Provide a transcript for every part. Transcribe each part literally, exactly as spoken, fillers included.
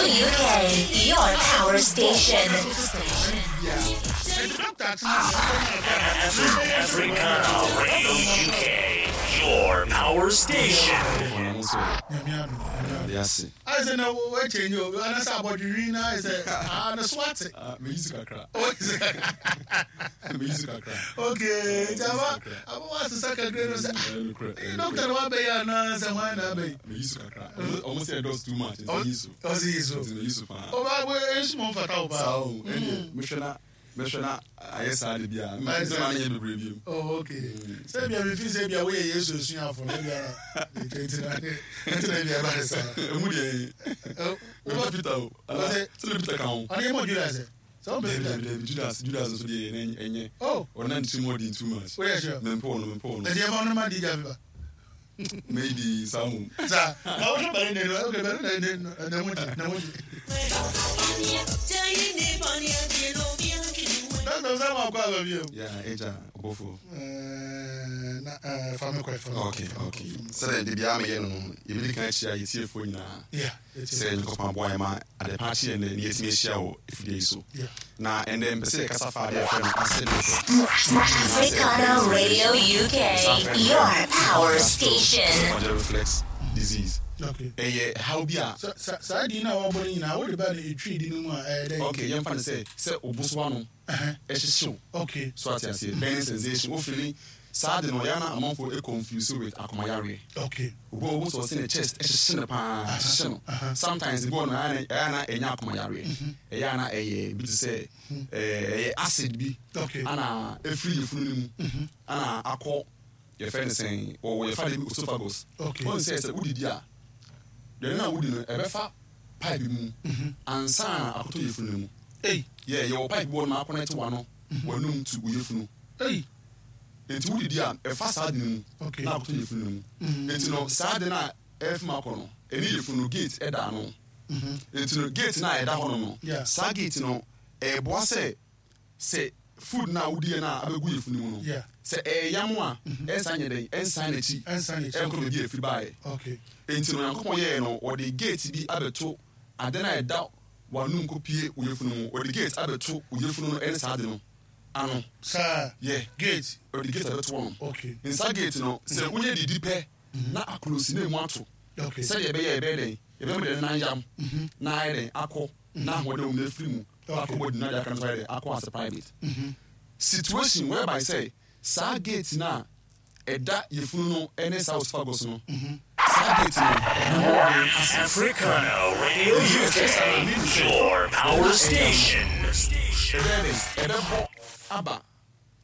U K, your power station. Ɛnti doctor atena ase. Africana Radio U K, your power station. Nyame adom, Nyame adom. Ade ase. Ayɛ sɛ na wɔakyɛnyi o, anasɛ abɔdwewin na ayɛ sɛ ah, ne so ate. Meyi so kakra. Meyi so kakra. Okay, nti aba aba wasesa kakra no sɛ Ɛyɛ nokorɛ. Doctor na wabɛyɛ anaa sɛ hwan na abɛyi? Meyi so kakra. Ɔmo sɛ ɛdɔs too much, nti meyi so. Ɔsi yi so. Nti meyi so paa. Ɔba bɔ esu mɔ nfata wo saa paa. o, ɛnneɛ mehwɛ na mehwɛ na ayɛ saa de bia sɛ ma ne yɛ bebree biom. Oh, okay. Sɛ bia mi fi sɛ bia woyɛ Yesu esuafo na bia nti na nti na bia ba ne saa. Ɛmu deɛ mɛma Peter o. Ɔsɛ- Sɛde Peter ka ho. Ɔne yɛ mɔ Judas ɛ sɛ ɔmpɛ Dabi. Peter. Dabi, dabi, Judas, Judas nso deɛ ɛnyɛ ɛnyɛ Oh. Ɔna ne tirim ɔden too much. Woyɛ sure? Mempɛ ɔno, mempɛ ɔno. Ɛti yɛ fa ɔno ma di gya fiba. Maybe saa mom. Sa na wohwɛ bɛri ne no, okay, bɛri ne ne ne ho gye ne ho gye. Doctor sɛ ma kɔ aba bi o. Yeah, agya ɔbɔfoɔ. Ɛɛ, na ɛɛ fa mi kɔ, fa mi kɔ. okay okay sɛdeɛ de biara meyɛ no no yɛbɛdi kan akyia yɛtiefoɔ nyinaa Yeah. sɛ Nyankopɔn aboa yɛ ma adepa akye ɛnnɛ ne yɛtumi ahyia wɔ afidie yi so. Yeah. Na ɛnnɛ mpɛ sɛ yɛkasa fa adeɛ yɛfrɛ no acid reflux. Africana Radio U K, your power station. Esophageal reflux disease. Okay. Ɛyɛ haw bi a Sa sa saa di na wɔbɔ no nyinaa, wode ba no etwi di no mu a, ɛyɛ dɛ. Okay, yɛmfa no sɛ sɛ obosoa no Ɛhɛn. ɛhyehyew. Okay. So ate aseɛ, burning sensation wofili saa de no, ɔyɛ na amanfoɔ confuse with akomayareɛ. Okay. Obi a ɔwɔ sɛ ɔsɛ ne chest ɛhyehye no paa, ɛhyehye no sometimes, ebi wɔ no ɛyɛ na- ɛyɛ na ɛnyɛ akomayareɛ, ɛyɛ na ɛyɛ bi te sɛ ɛɛ ɛyɛ acid bi Okay. ana efiri yɛfunu no mu ana akɔ, yɛfrɛ no sɛn, wɔwɔ yɛfa de bi esophagus. Okay. Wɔn sɛ sɛ wodidi a, deɛ no a wodi no ɛbɛfa pipe mu ansa na akɔtɔ yɛfunu no mu. Ei. Yɛ yɛwɔ pipe bi wɔ no ma akɔnɛte wano w'anum to wo yɛfunu. Ei. Nti wodidi a, ɛfa saa de no mu Okay. na akɔtɔ yɛfunu no mu. Nti no saa de no a ɛfim akɔ no, ɛne yɛfunu no gate ɛda ano. Nti no gate no a ɛda hɔ no no Yeah. saa gate no ɛɛboa sɛ sɛ food no a wodiɛ no a abɛgu yɛfunu mu no, Yeah. sɛ ɛɛyam a, ɛnsan nyɛ dɛn, ɛnsan n'akyi. Ɛnsan n'akyi. Ɛnkɔ baabi a ɛfiri baeɛ. Okay. Nti no Nyankopɔn yɛɛ no, ɔde gate bi abɛto ade no a ɛda w'anum kɔpie wo yɛfunu mu. Ɔde gate abɛto wo yɛfunu no ɛne saa ade no ano. Saa. Yɛ Gate. ɔde gate abɛto hɔ no. Okay. Nsa gate no, sɛ wonyɛ didi pɛ na akolosi na emu ato Okay. sɛdeɛ ɛbɛyɛ ɛbɛyɛ dɛn, ɛbɛma deɛ nan yam na ayɛ dɛn akɔ na ahoɔden wɔ mu na efiri mu akɔ bɔ di na deɛ aka no nso ayɛ dɛn akɔ as a private situation, whereby sɛ saa gate na ɛda yɛfunu no ɛne saa esophagus no, saa gate no ɛho ase. Africana Radio U K, your power station. Ɛbɛyɛ dɛn, ɛbɛbɔ aba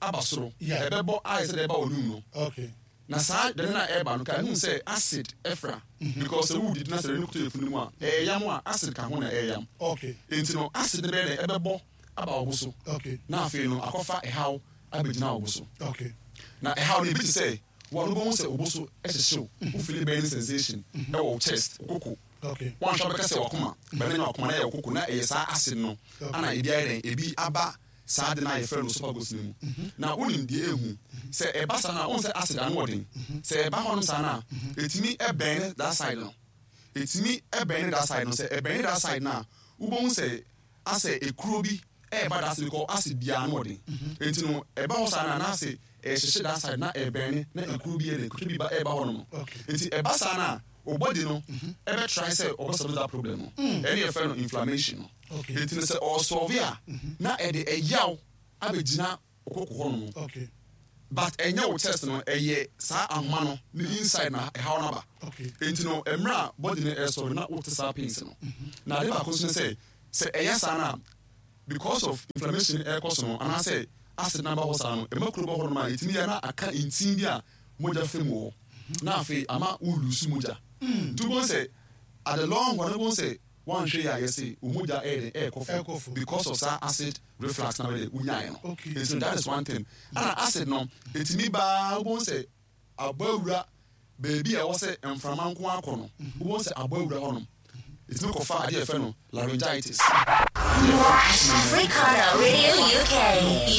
aba soro. Yeah. Ɛbɛbɔ ayɛ sɛ deɛ ɛba wɔ num no. Okay. Na saa dɛn na ɛba no ka ehun sɛ acid ɛfra, because sɛ wudidi na sɛ ɛno kuta efunu mu a ɛyɛ a, acid ka ho na ɛyɛ. Okay. Nti no acid no bɛyɛ dɛ ɛbɛbɔ aba wo bo so. Okay. Na afei no akɔfa ɛhaw abɛgyina wo bo so. Okay. Na ɛhaw no ebi te sɛ wɔn no bɛhu sɛ wo bo so ɛhyehyew, wofili burning sensation ɛwɔ wo chest, wo koko. Okay. Wɔn ahwɛ bɛka sɛ wakoma bɛn na wakoma na ɛyɛ wo koko, na ɛyɛ saa acid no ana ebi ayɛ dɛn, ebi aba saa de no a yɛfrɛ no esophagus no mu. Na wonim deɛ ehu sɛ ɛba saa na wɔn sɛ acid ano ɔden, sɛ ɛba hɔnom saa na etumi ɛbɛn that side no, etumi ɛbɛn that side no. Sɛ ɛbɛn that side no a, wobɛhu sɛ asɛ ekuro bi ɛɛba that side, because acid biara ano ɔden. Eti no ɛba hɔ saa na n'ase ɛhyehyɛ that side na ɛbɛn na ekuro bi yɛ dɛ ekuro bi ba ɛɛba hɔ nom. Okay. Nti ɛba saa na o body no ɛbɛ try sɛ ɔbɛ solve that problem no, ɛne yɛfrɛ no inflammation no. Okay. Nti no sɛ ɔsolve a, na ɛde ɛyaw abɛgyina ɔkoko hɔ nom. Okay. But ɛnyɛ wo chest no, ɛyɛ saa ahoma no ne inside na ɛhaw no aba. Okay. Nti no mmerɛ a body no ɛsɔre na wote saa pains no, na ade baako nso ne sɛ sɛ ɛyɛ saa na because of inflammation ɛrekɔ so no anaasɛ acid na aba hɔ saa no, ɛma kuro bɔ hɔ nom a, ɛtumi yɛ na aka ntin bi a mogya fɛ mu wɔ hɔ, na afei ama wo lose mogya. Nti wobɛhu sɛ at the long run, wobɛhu sɛ wanhwɛ yɛ a, yɛsɛ wo mogya ɛyɛ dɛn, ɛɛkɔ Ɛrekɔ fam fam. because of saa acid reflux na wɔde wonyaeɛ no. Okay. Nti no that is one thing. Ana acid no ɛtumi baa, wobɛhu sɛ abɔ awura baabi a ɛwɔ sɛ mframa nko akɔ no, wobɛhu sɛ abɔ awura hɔ nom. Ɛtumi kɔfa adeɛ a yɛfrɛ no laryngitis. Africana Radio U K,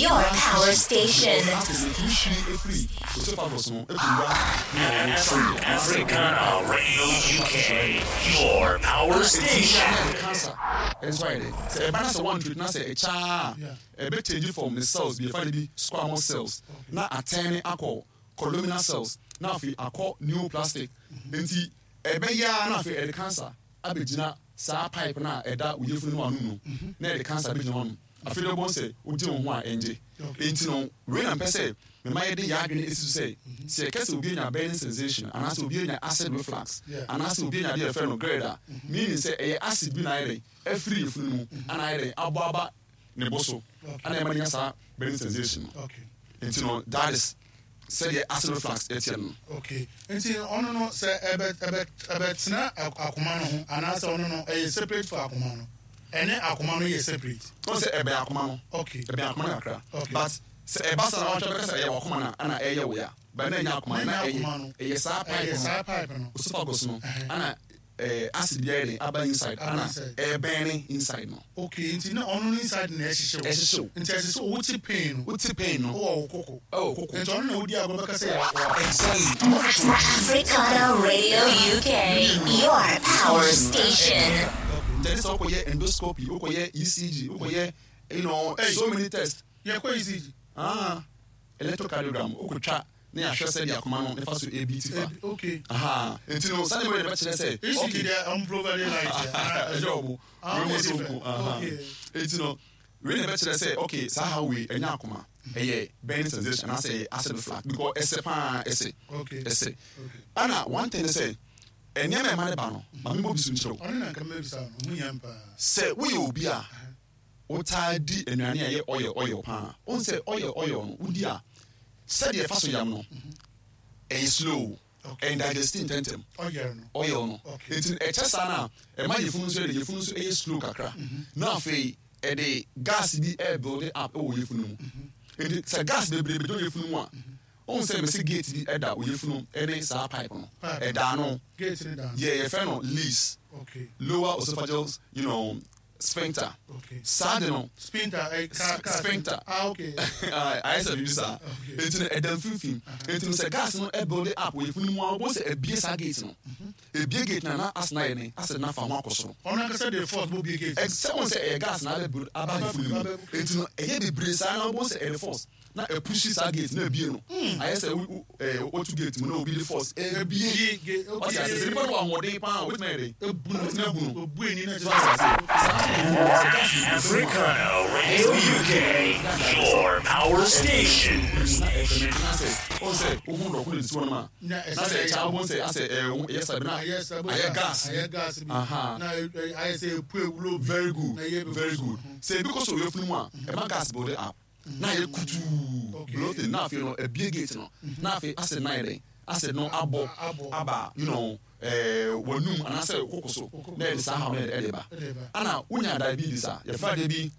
your power station. Acid no ɛtumi hwiri ɛfiri esophagus no ɛkɔwura trachea. Africana Radio U K, your power station. Cancer ɛnso ayɛ dɛ sɛ ɛba na sɛ one treat na sɛ ɛkyaa a, ɛbɛ change from ne cells bi yɛfa de bi squamous cells na atɛn akɔ columnar cells na afei akɔ neoplastic. Nti ɛbɛyɛ a na afei ɛde cancer abɛgyina saa pipe na ɛda wo yafunu no ano no, na ɛde cancer abɛgyina hɔ no. Afei de bɔn sɛ wogye wo ho a ɛngye. Nti no wei na mpɛ sɛ mema yɛde yɛ adwene esi so sɛ sɛ yɛka sɛ obi anya burning sensation anaasɛ obi anya acid reflux Yeah. anaasɛ obi anya adeɛ yɛfrɛ no GERD a, meaning sɛ ɛyɛ acid bi na ayɛ dɛ afiri yafunu no mu ana ayɛ dɛ abɔ aba ne bo so ana ɛma no nya saa burning sensation no. Okay. Nti no that is sɛdeɛ acid reflux ɛteɛ no. Okay, nti ɔno no sɛ ɛbɛ ɛbɛ ɛbɛtena ak- akoma no ho anaasɛ ɔno no ɛyɛ separate for akoma no, ɛne akoma no yɛ separate? Wɔn sɛ ɛbɛn akoma no. Okay. Ɛbɛn akoma no kakra. Okay. But sɛ ɛba sa na wɔatwa bɛka sɛ ɛyɛ wakoma no ana ɛyɛ wo ya, but na ɛnyɛ akoma no, na Na ɛnyɛ ɛyɛ akoma no. Ɛyɛ saa pipe Ɛyɛ no, saa pipe no. Esophagus no, Ɛhɛn. ana ɛɛ acid bi ayɛ den aba inside Aba ana inside. ɛbɛn ne inside no. Okay, nti na ɔno no inside na ɛhyehyɛ wo? Ɛhyehyɛ wo. Nti ɛsɛ sɛ wote pain no, wote pain no, wowɔ wo koko. Ɛwɔ koko. Nti ɔno na wodi agorɔ bɛka sɛ yɛ wɔ Exactly. Africana Radio U K, your power station. Nti ɛne sɛ wokɔyɛ endoscopy, wokɔyɛ E C G, wokɔyɛ you know Hey. so many tests. Yɛkɔ E C G? Ah, electrocardiogram, wokɔtwa na yɛahwɛ sɛdeɛ akoma no ne fa so ebi ti fa. Ebi- okay Aha, nti no sani wei de bɛkyerɛ sɛ E C G deɛ, ɔmo provide light. Ɛyɛ ɔmo Ah, wei mo okay, so different. nko aha. Okay. Nti no wei na bɛkyerɛ sɛ okay, saa ha wei ɛnyɛ akoma, ɛyɛ burning sensation anaasɛ ɛyɛ acid reflux because ɛsɛ paa, ɛsɛ Okay. ɛsɛ. Ana one thing ne sɛ nneɛma ɛma ne ba no, maame bɔ bi so nkyerɛw. Ɔno na nka mɛbisa no ho yɛn paa. Sɛ woyɛ obi a wotaa di nnuane a ɛyɛ oil oil paa, wohu sɛ oil oil no wodi a, sɛdeɛ ɛfa so yam no ɛyɛ slow, Okay. ɛndigest ntɛntɛm. Ɔyɛ no. Oil no. Okay. Nti ɛkyɛ saa no a, ɛma yɛfunu nso yɛ de yɛfunu nso ɛyɛ slow kakra, na afei ɛde gas bi ɛbuild up ɛwɔ yɛfunu mu. Nti sɛ gas bebree bɛdɔ yɛfunu mu a, wohu sɛ mɛsɛ gate bi ɛda wɔ yɛfunu ɛne saa pipe no. Pipe. Ɛda no. Gate ne da no. Yɛ yɛfrɛ no LES, Okay. lower esophageal you know, sphincter. Okay. Saa de no Sphincter, eh, ka ka Sphincter. Ah, okay. Ayɛ sɛ biribi saa. Okay. Nti no ɛda mfimfini. Nti no sɛ gas no ɛbuild up wɔ yɛfunu mu a, wɔn sɛ ebie saa gate no, ebie gate na na acid na yɛ ne acid na fa ho akɔ soro. Ɔno ankasa de force bɔ bie gate. Sɛ wɔn sɛ ɛyɛ gas na abɛ build aba yɛfunu mu, Abɛ- nti no ɛyɛ bebree saa na wɔn sɛ ɛde force na ɛpush saa gate na ebie no. Ayɛ sɛ wo wo ɛɛ wotu gate mu na obi de force ebie. Ebie gate, okay. Ɔsi ase sɛ nipa no wɔ ahoɔden paa, obetumi ayɛ de Ebu no. obetumi abu no. Obu eni na So ase ase saa so yɛ sɛ gas bebree Africana Radio U K, your power station. Na ɛfɛmɛ na sɛ ɔn sɛ ohun dɔko de si hɔ nom a, Na na sɛ ɛkyɛ abɔ sɛ asɛ ɛɛ ɛyɛ sabi na ayɛ sabi. Ayɛ gas. Ayɛ gas bi. Aha. Na ɛ- ɛ- ayɛ sɛ epu ewulo bi. Very good. Na ɛyɛ bɛ Very good. Sɛ ebi kɔ so oyɛ funu mu a, ɛma gas build up na ayɛ kutuu, Okay. bloating, na afei no ebie gate no, na afei acid na ayɛ dɛ acid no abɔ Abɔ. aba you know ɛɛ wɔnum anaasɛ koko so na yɛde saa haw no yɛde ɛde ba. Ɛde ba. Ana wonya diabetes a, yɛfrɛ adeɛ bi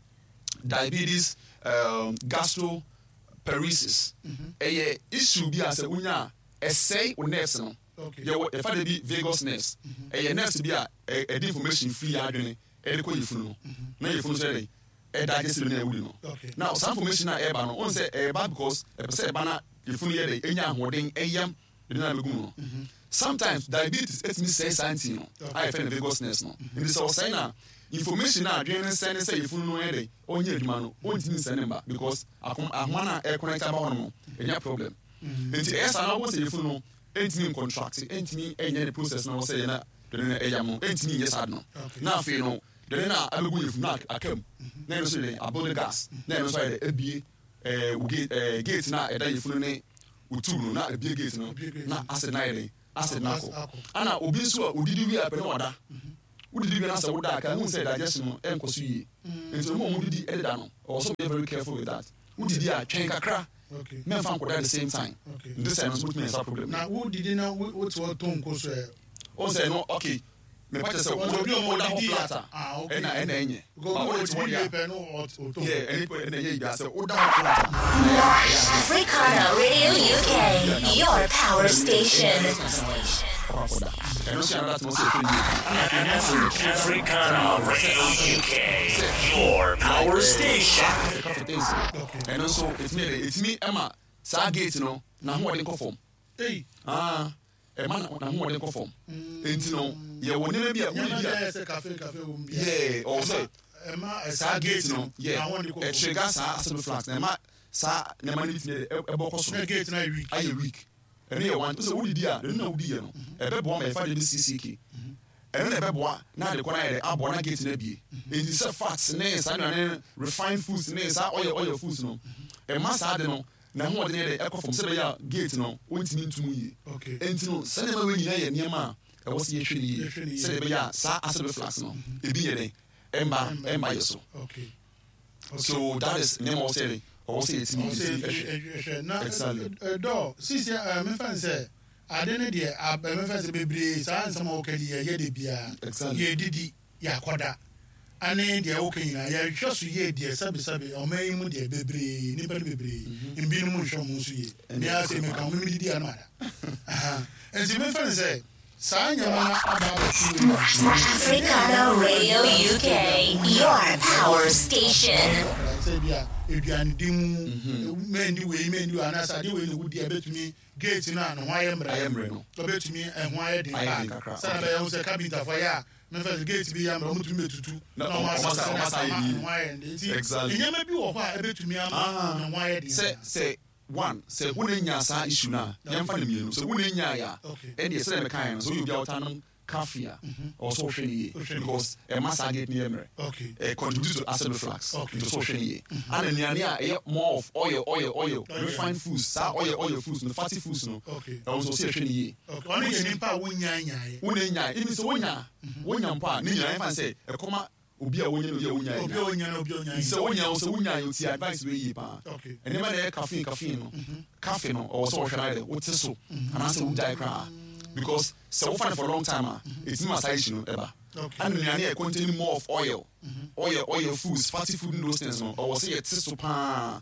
diabetes um, gastroparesis. Ɛyɛ issue bi a sɛ wonya a, ɛsɛe wo nerves no. Okay. Yɛwɔ yɛfa de bi vagus nerves. Ɛyɛ nerves bi a ɛ- ɛde information firi yɛ adwene ɛde kɔ yɛfunu no, na yɛfunu nso yɛ de ɛdigest no na ɛwuri no. Okay. Now saa information a ɛreba no, ɔn sɛ ɛreba because ɛpɛ sɛ ɛba na yɛfunu yɛ de ɛnya ahoɔden ɛyam ɛde na ɛbɛgu mu no. Sometimes diabetes ɛtumi sɛe saa nti no a yɛfrɛ no vagus nerves no. Nti sɛ ɔsɛe na information a adwene no sɛne sɛ yɛfunu no yɛ de ɔnyɛ adwuma no, ɔntumi nsɛne mba because akom ahoma no a ɛconnect aba hɔ no no ɛnya problem. Nti ɛyɛ saa na wɔn sɛ yɛfunu no ɛntumi ncontract, ɛntumi ɛnyɛ ne process na wɔsɛ yɛ na dɔne no ɛyam no, ɛntumi nyɛ saa de no. Okay. Na afei no dɔne no a abɛgu yɛfunu no aka mu na ɛno nso yɛ abɔ gas na ɛno nso ayɛ dɛ ebie ɛɛ wo gate, ɛɛ gate na ɛda yɛfunu ne wo tube no, na ebie gate no. Ebie gate Na no. acid na ayɛ dɛ acid na akɔ. Akɔ. Ana obi nso a odidi wie apɛ na wada, wodidi wie na sɛ woda a, ka hu sɛ digestion no ɛnkɔ so yie. Nti ɔmo a ɔmo didi ɛdeda no, ɔwɔ so be very careful with that. Wodidi a, twɛn kakra, Okay. mɛmfa nkɔda at the same time. Okay. Nti sɛ ɛno nso wotumi nya saa problem. Na wodidi na wo- wote hɔ to nko so ɛ? Ɔn sɛ no, okay, mepa kyerɛ sɛ Ɔsɛ obi a ɔmo woda hɔ didi a- flat a, Ah, okay. ɛna ɛna ɛnyɛ. Because But obi wode te hɔ odidi deɛ wie a, pɛ no ɔt- ɔtɔ. yeah, ɛne ɛna ɛnyɛ yie sɛ woda hɔ flat a. Africana Radio U K, your power station. akɔ akɔda. Ɛno nso yɛ another thing ɔsɛ yɛhwɛ yie. Ana afei nneɛma a yɛtwe Africana Radio U K, your power station. Coffee things, ɛno nso ɛtumi yɛ dɛ ɛtumi ɛma saa gate no n'ahoɔden kɔ fam. Ei. Ah, ɛma na- n'ahoɔden kɔ fam. Enti no yɛwɔ nneɛma bi a nneɛma wodidi bi a ayɛ sɛ cafe cafe wɔ mu bia. Yeah, ɔwɔ sɛ ɛma saa gate no yɛ n'ahoɔden kɔ fam. ɛtrigger saa acid reflux na ɛma saa nneɛma no bi tumi yɛ dɛ ɛbɔ kɔ soro. Na gate no ayɛ weak. Ayɛ weak. Ɛno yɛ one. Sɛ wodidi a, ɛno na wodi yɛ no, ɛbɛboa ma yɛfa de bi C C K, ɛno na ɛbɛboa na ade kɔ no ayɛ dɛ aboa na gate no abie. Enti sɛ fats ne saa nnuane, refined foods ne saa oil oil foods no, ɛma saa de no na ahoɔden yɛ dɛ ɛkɔ fam sɛ ɛbɛyɛ a gate no wɔntumi ntum yie. Okay. Enti no saa nneɛma wei nyinaa yɛ nneɛma a ɛwɔ sɛ yɛhwɛ no yie Yɛhwɛ no yie. sɛdeɛ ɛbɛyɛ a saa acid reflux no ebi yɛ dɛ ɛmba ɛmba yɛ so. Okay so that is nneɛma a ɔwɔ sɛ yɛ ɔwɔ sɛ yɛtumi ɔsɛ yɛtumi ɛhwɛ. ɛhwɛ na Exactly. dɔ sisi ɛ mefa n sɛ ade ne deɛ ab- ɛ, mefa sɛ bebree saa nsɛm a wɔka di yɛyɛ de biara. Exactly. Yɛdidi, yɛakɔda ane deɛ woka nyinaa yɛhwɛ so yie deɛ. Sɛbesɛbe, ɔman yi mu deɛ, bebree nipa no bebree mbinom nhwɛ mo nso yie. Mea sɛ meka mo medidi a no mada. Aha. Nti mefa n sɛ saa nneɛma no aba abɛto mu. Africana Radio U K, your power station. Sɛ bi a aduanedi mu, mɛndi wei, mɛndi wei, anaasɛ adeɛ wei na wodi a ɛbɛtumi gate no a ne ho ayɛ Ayɛ mmerɛ mmerɛ no. Ɔbɛtumi ɛho ayɛ den Ayɛ den paa kakra, sɛnɛ okay. bɛyɛ ho sɛ kabintafo yɛ a, mɛfɛ sɛ gate bi yɛ mmerɛ, ɔmotumi bɛtutu Na na ɔmo ɔmo asa- asesa ɔmo asa ayɛ ama yie. ne ho ayɛ den. Nti Exactly. nneɛma bi wɔ hɔ a ɛbɛtumi ama Ah. ne ho ayɛ den. sɛ sɛ one, sɛ wone nya saa issue no a, yɛmfa no mmienu. Sɛ wone nya yɛ a, Okay. ɛneɛ sɛdeɛ mekaeɛ no, sɛ woyɛ obi a wota nom coffee a, ɔwɔ sɛ wohwɛ no yie Wohwɛ no yie. because ɛma saa gate no yɛ mmerɛ. Okay. Eh, contribute to acid reflux. Okay. Nti sɛ wohwɛ no yie. Ana nnuane a ɛyɛ more of oil oil oil, Oil. refined foods, saa oil oil foods no, fatty foods no, Okay. ɛwɔ nso sɛ yɛhwɛ no yie. Okay. Ɔno yɛ nipa a wonyaa nyaeɛ. Wone nya, even sɛ wonya wonya mpo a, ne nyinaa yɛmfa no sɛ ɛkɔma obi a wonya no, obi a wonya. Obi a wonya na obi a wonya. Sɛ wonya wo sɛ wonya yɛ, ti advice wei yie paa. Okay. Ɛnneɛma na ɛyɛ caffeine caffeine no, caffeine no, ɔwɔ sɛ wɔhwɛ no ayɛ dɛ wote so anaasɛ wogyae koraa, because sɛ wofa no for long time a, ɛtumi ma saa issue no ɛba. Okay. Ana nnuane a contain more of oil oil oil foods, fatty food and those things no, ɔwɔ sɛ yɛte so paa.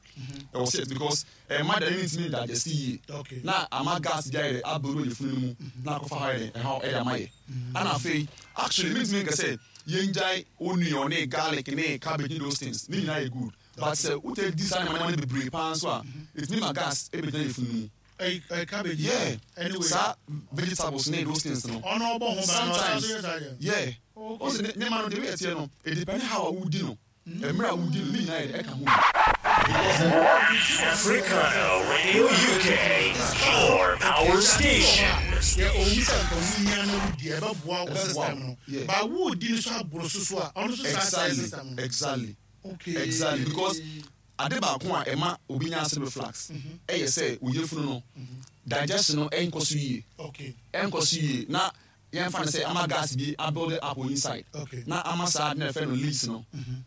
Ɛwɔ sɛ because ɛma dane no ntumi digest yie Okay. na ama gas bi ayɛ dɛ abɛwura yɛ funu no mu na akɔfa hɔ ayɛ dɛ ɛhaw ɛde ama yɛ. Ana afei actually mentumi nka sɛ yɛngyae onion ne garlic ne cabbage ne those things ne nyinaa yɛ good, but sɛ wotɛ di saa nneɛma nneɛma no bebree paa nso a, ɛtumi ma gas ɛbɛgyina yɛ funu no mu. Ɛyi ɛyi cabbage. Yeah. Anyway. Saa vegetables ne those things no. Ɔno ɔbɔ ho ban na ɔsan Sometimes so yɛ saa deɛ. Yeah, ɔsɛ ne nneɛma no de wei ɛteɛ no, it depend how a wodi no, mmerɛ a wodi no, ne nyinaa yɛ dɛ ɛka ho bi. Africana Radio U K, your power station. Yɛ owu sɛ nka wunya na wudi, ɛbɛboa wo Ɛbɛboa system wo. no. Yeah. Ba wudi no so aboro so so a, ɔno so saa sɛ exactly system no. Exactly. Okay. Exactly, because ade baako a ɛma obi nya acid reflux ɛyɛ sɛ oyɛ funu no digestion no ɛnkɔ so yie. Okay. Ɛnkɔ so yie na yɛmfa no sɛ ama gas bi abuild up wɔ inside Okay. na ama saa ade na yɛfrɛ no leaks no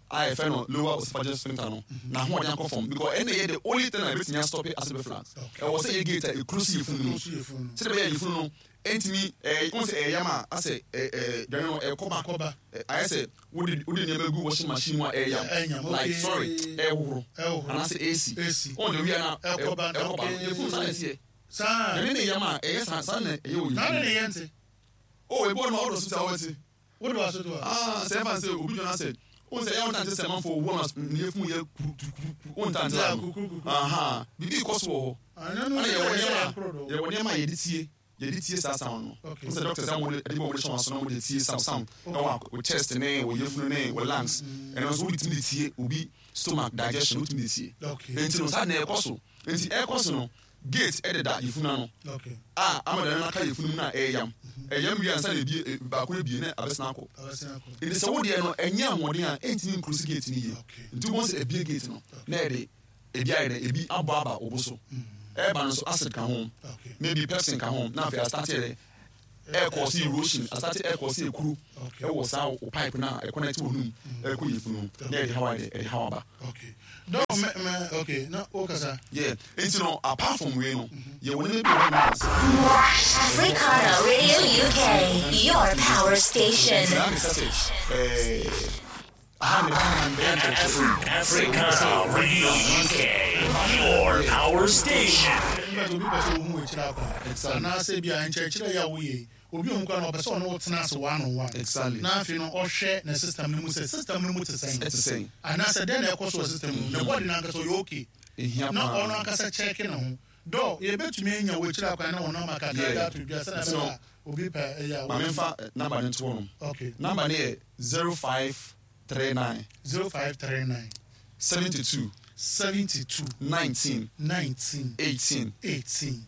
a yɛfrɛ no lower esophageal sphincter no na ahoɔden akɔ fam, because ɛna yɛ the only thing a ɛbɛtumi astop acid reflux. Okay. Ɛwɔ sɛ yɛ gate a ɛkuro si yɛ funu no mu Ɛkuro si yɛ funu no. sɛdeɛ bɛyɛ yɛ funu no ɛntumi ɛɛ wɔn sɛ ɛyɛ yam a asɛ ɛɛ ɛɛ dwane no ɛkɔba. Ɛkɔba. Ɛ, ayɛ sɛ wode wode nneɛma gu washing machine mu a ɛyɛ Ɛyam, yam, like okay. sorry, ɛhohoro Ɛhohoro. anaasɛ A C. A C. Wɔn de wia na Ɛkɔba, ɛkɔba. okay. Yɛ funu saa na ɛsiɛ Saa. ɛne ne yam a ɛyɛ saa saa na ɛyɛ wɔ Na yɛ ne funu. ne yɛ nte. O ebi wɔ no ma ɔdɔ so sɛ ɔwɔ Wode wa so to a. Ah, sɛ ɛfa sɛ obi dwona sɛ wɔn sɛ ɛyɛ wɔn tante sɛ manfo wɔn na ne yɛ funu yɛ kuru kuru kuru wɔn tante Yeah, la kuru, kuru, kuru. Aha, bibi kɔ so wɔ hɔ. Ɛno no Ɛna yɛwɔ yɛ nneɛma koro do. yɛwɔ nneɛma a yɛde tie yɛde tie saa sound no. Okay. N sɛ doctors a wɔde ɛde bɔ wɔde hyɛ wɔn aso na wɔde tie sound sound ɛwɔ wɔ chest ne wɔ yɛfunu ne wɔ lungs. Ɛno nso wɔde tumi de tie obi stomach digestion, wɔtumi de tie. Okay. Nti no saa na ɛkɔ so, nti ɛkɔ so no, gate ɛdeda yɛfunu ano Okay. a ama dane no aka yɛfunu mu na ɛyam ɛyam wie ansa na ebie e- baako ebie na abɛsena akɔ. Abɛsena akɔ. Nti sɛ wodeɛ no ɛnyɛ ahoɔden a, ɛntumi nclose gate no yie. Okay. Nti wobɛhu sɛ ebie gate no na ɛde ebi ayɛ dɛ ebi abɔ aba wo bo so. Ɛba no nso, acid ka ho, Okay. maybe pepsin ka ho, na afei astart yɛ dɛ ɛkɔ si erosion, astart ɛkɔ si ekuru Okay. ɛwɔ saa wo pipe na ɛconnect wɔ num ɛkɔ yɛ funu na ɛde hawa yɛ dɛ ɛde hawa ba. Okay. Dɔw mɛ mɛ okay na o kasa. Yeah, nti no apart from wei no, yɛwɔ nneɛma bi wɔ hɔ nom a Africana Radio U K, your power station. Nti na meka sɛ ɛɛ aha ne ba na mbɛyɛ nkyerɛkyerɛ. Africana Radio U K, your power station. Mbɛ sɛ obi pɛ sɛ ohun ekyir akɔ. Exactly. Anaasɛ bi a nkyerɛkyerɛ yɛ a woyɛ yi, Obi a ɔmu kora no ɔpɛ sɛ ɔne wo tena ase one on one. Exactly. Na afei no ɔhwɛ ne system no mu sɛ system no mu te sɛn. Ɛte sɛn. Anaasɛ dɛn na ɛkɔ so wɔ system mu. Ne body no ankasa ɔyɛ okay. Ehia Na paa. ɔno ankasa check ne ho. Dɔ yɛbɛtumi anya wɔ akyire akwan na wɔn nama kakra Yeah. de ato dwa sɛnɛ So- ɛbɛyɛ a obi pɛ ɛyɛ a Ma memfa eh, number no nto hɔ nom. Okay. Number no yɛ zero five three nine zero five three nine seventy two seventy two nineteen nineteen eighteen eighteen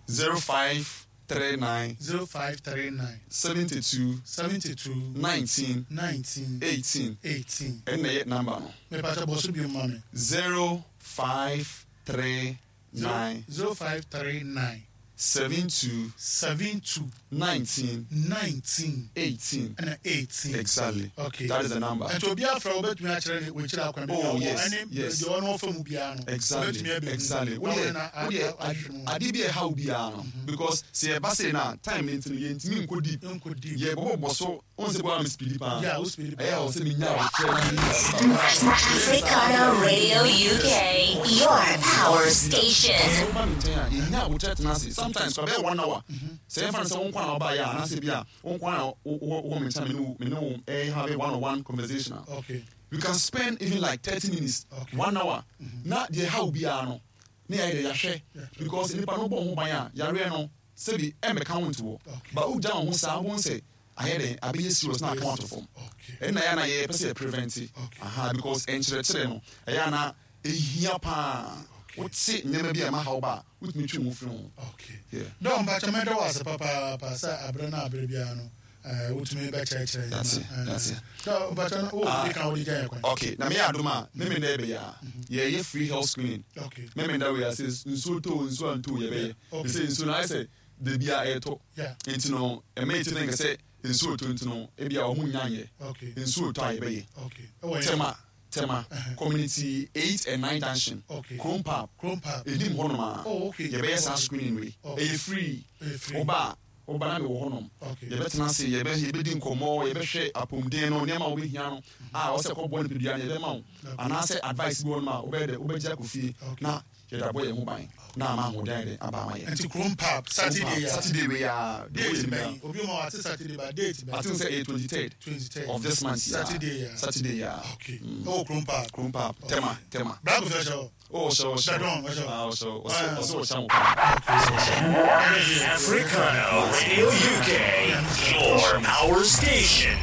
zero five three nine zero five three nine seventy two seventy two nineteen nineteen eighteen eighteen. ɛnna ɛyɛ number no Mepatwa bɔ so bi ma me. zero five three nine zero five three nine seven two seven two nineteen nineteen eighteen ɛna eighteen. exactly Okay. that is the number Nti obi afra wobɛtumi akyerɛ ne wɔkyerɛ akwan bi Oh, a ɔwɔ, yes, ɛne yes. deɛ ɔno ɔfa mu biara no. exactly wobɛtumi abɛhu. exactly Na wodeɛ wɔde na a- wodeɛ a- ahwɛ mu. adeɛ bi a ɛha wo biara no because sɛ yɛba sei na time no nti no yɛntumi nkɔ deep Nkɔ deep. yɛbɔbɔbɔ so wohu sɛ boa me speedi paa Yeah, wo speedi paa. ɛyɛ a wɔ sɛ menya wokyerɛ na menya Africana Radio U K, your power station. sɛ woba me nkyɛn a yɛnya abotrɛ tena ase sometimes kora bɛyɛ one hour sɛ yɛmfa no sɛ wo nkwa na wobaeɛ a anaasɛ bi a wo nkwa na wo- wo- wowɔ me nkyɛn a me ne wo- me ne wo eh, have a one on one conversation a Okay. we can spend even like thirty minutes, Okay. one hour na deɛ ɛha wo biara no ne yɛayɛ deɛ yɛahwɛ because nipa no bɔ ho ban a yareɛ no sɛbi ɛmmɛka wo nto hɔ Okay. but wogya wo ho saa wobɛhu sɛ ayɛ dɛn abɛyɛ serious na aka wo ato fam. Okay. Ɛnna ɛyɛ na yɛpɛ sɛ yɛ prevent. Okay. Aha, because nkyerɛkyerɛ no ɛyɛ ana ɛhia paa wote nneɛma bi a ɛma haw ba a wotumi twe wo ho firi ho. Okay. Yeah. Dɔ mpakyɛ mɛdɔ wɔ ase papaapa sɛ aberɛ no aberɛ biara no eh, wotumi bɛkyerɛkyerɛ yɛn That's ma, it, eh, that's it. Dɔ mpakyɛ no wowɔ bi ka wode gya yɛ kwan. Okay, na meyɛ adom a memenda ɛbɛyɛ a yɛyɛ free health screening. Okay. Memenda wei a sɛ nsuo tɔ o, nsuo antɔ o, yɛbɛyɛ. Okay. Sɛ nsuo no ayɛ sɛ da bia ɛɛtɔ Yeah. nti no ɛma yɛti no nka sɛ nsuo tɔ nti no ebia ɔmo nya nyɛ. Okay. Nsuo tɔ a yɛbɛyɛ. Okay. Ɛwɔ yɛn- Tema Tema Community eight and nine junction. Okay. Chrome Park. Chrome Park. Enim hɔnom a Oh, okay. yɛbɛyɛ saa Okay. screening wei. Okay. Ɛyɛ free. Ɛyɛ free. Woba a woba na mewɔ hɔnom. Okay. Yɛbɛtena ase, yɛbɛ yɛbɛdi nkɔmmɔ, yɛbɛhwɛ apɔmuden no nneɛma a wobɛhia no a wɔsɛ kɔbɔ nipadua no yɛbɛma wo anaasɛ advice bi wɔ nom a wobɛyɛ dɛ wobɛgye akɔ fie Okay. na yɛde abɔ yɛn ho ban na ama ahoɔden ayɛ dɛ aba ama yɛn. Nti Chrome Park Saturday a Saturday wei a date bɛn? Obi ma wate Saturday ba date I bɛn? think sɛ ɛyɛ twenty third twenty-third of this month, yeah. Saturday a. Saturday a. Okay. Ɛwɔ Chrome Park. Chrome Park, Tema Tema. Black Official hyɛ hɔ. Oh, ɔhyɛ ɔhyɛ. Dadon, ɔhyɛ. Ah, ɔhyɛ ɔhyɛ Ah. ɔsɛ ɔhyɛ mo paa. Africana Radio U K, your power station.